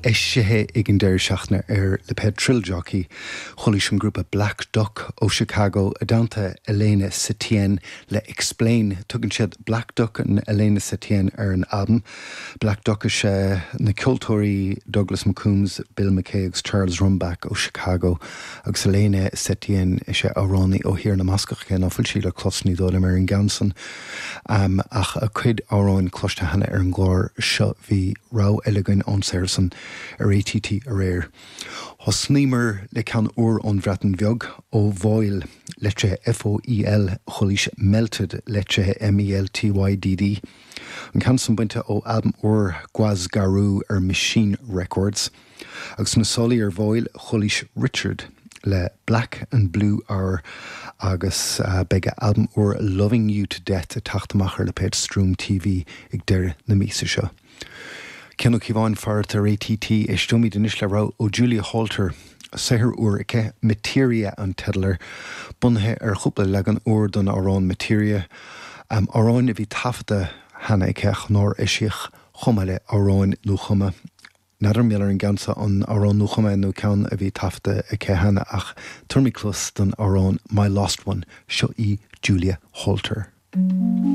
Eisithe ag an deireadh seachtaine ar lipéad Thrill Jockey, chualaís an grúpa Black Duck ó Chicago i dteannta Elena Setien le Explain. Tugann siad Black Duck and Elena Setien ar an albam. Black Duck is ea na ceoltóirí Douglas McCombs, Bill McKay agus Charles Rumback ó Chicago agus Elena Setien is ea amhránaí ó Thír na mBascach cé ná fuil sí le clos ní dóigh liom ar an gceann san ach a cuid amhráin cloiste cheana ar an gclár seo. Bhí rogha eile againn ón saothar san ar ATT aréir. Thosnaíomar le ceann úr ón Bhreatain Bheag, ó Foel, litrithe F-O-E-L, chualaís Meltyd, litrithe M-E-L-T-Y-D-D. An ceann san bainte ó albam úr Gwas Garw ar Machine Records. Agus sna sálaí ar Foel, chualaís Richard le Black and Blue Hour agus beidh a albam úr Loving You To Death ag teacht amach ar lipéad Stream TV ag deireadh na míosa seo. Cian Ó Cíobháin, fearacht ar ATT, Éisteoimid anois le rogha ó Julia Holter, saothar úr aici, Materia an teideal air, bunaithe ar chúpla leagan úr don amhrán Materia, amhráin a bhí taifeadta cheana aici ach nár eisíodh, chomh maith le amhráin nuachumtha. N'fheadar mar gheall ar an gceann seo, an amhrán nuachumtha é nó ceann a bhí taifeadta aici cheana ach tabharfaimid cluas don amhrán My Lost One, seo í Julia Holter.